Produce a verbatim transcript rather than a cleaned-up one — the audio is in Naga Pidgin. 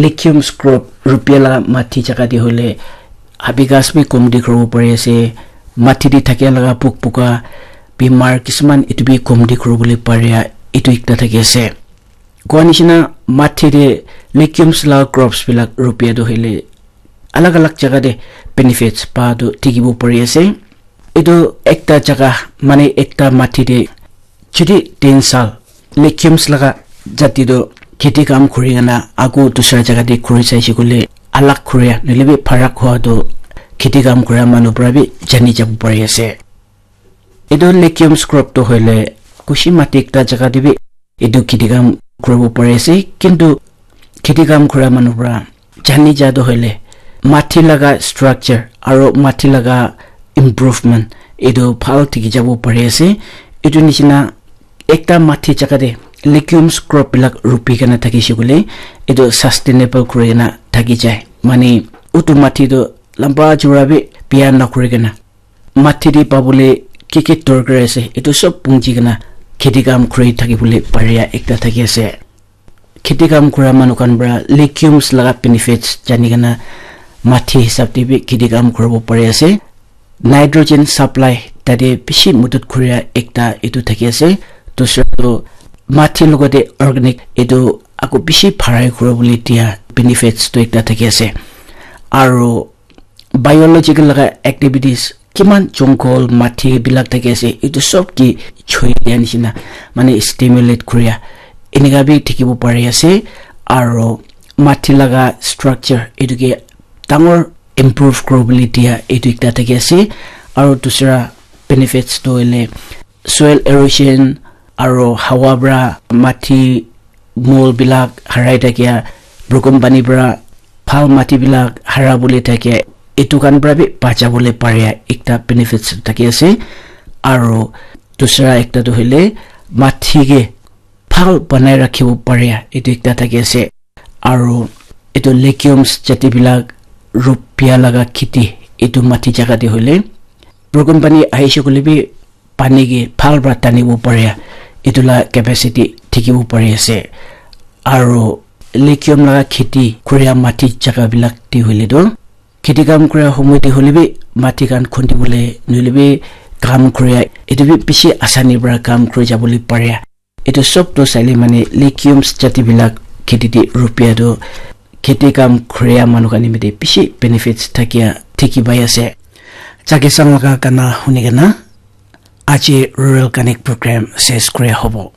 Legumes crop rupia laga mati jaga te hoile habi ghas bi kom dikhibo pari ase, mati te thakia laga pok poka bimar kisuman etu bi kom dikhibole paria etu ekta thaki ase. Koa nishina mati te legumes laga crops bilak rupia tu hoile alag alag jaga te benefits pa tu dikhibo pari ase. Etu ekta jaga mane ekta mati te jodi tin sal legumes laga jati tu kheti kam kuri kena ako dusra jaga te kuri saishe koile alag kuria nohoile bi pharak hua tu kheti kam kuria manu para bi jani jabo pari ase. Etu legumes crop tu hoile kushi mati ekta jaga te bi etu kheti kam kuribo pari ase, kintu kheti kam kura manu para jani ja tu hoile mati laga structure aro mati laga improvement etu bhal thaki jabo pari ase. Etu nishina ekta mati jaga te legumes crop bilak rupi kena thakishe koile etu sustainable kuri kena thaki jai, mane utu mati tu lamba chura bi biya nakuri kena mati te pabole ki ki dorkar ase etu sob punchi kena kheti kam kuri thakibole paria ekta thaki ase. Kheti kam kura manu khan para legumes laga benefits jani kena mati hisab te bi kheti kam kuribo pari ase. Nitrogen supply tate bishi madad kuria ekta etu thaki ase. Dusra tu mati logote organic etu ako bishi bharai kuribole dia benefits tu ekta thaki ase. Aro biological laga activities kiman jungle mati bilak thaki ase etu sob ki choi dia nishina mane stimulate kuria enika bi dikhibo pari ase. Aro mati laga structure etu ke dangor improve kuribole dia etu ekta thaki ase. Aro dusra benefits tu hoile soil erosion aro hawa para mati mol bilak harai thakia, broken pani para bhal mati bilak hara bole thakia, etu khan para bi bacha bole paria ekta benefits thaki ase. Aro dusra ekta tu hoile mati ke bhal banai rakhibo paria etu ekta thaki ase. Aro etu legumes jati bilak rupia laga kheti etu mati jaga te hoile broken pani ahishe koile bi pani ke bhal para tanibo paria etu la capacity dikhibo pari ase. Aro legume laga kheti kuria mati jaga bilak te hoile tu kheti kam kuria homoi te hoile bi mati khan khundibole nohoile bi kam kuria etu bi bishi asani para kam kuri jabole paria. Etu sob tu saile mane legumes jati bilak kheti te rupia tu kheti kam kuria manu khan nimite bishi benefits thakia dikhi pai ase. Chakisang laga gana huni kena aji Rural Connect program ses kuria hobo.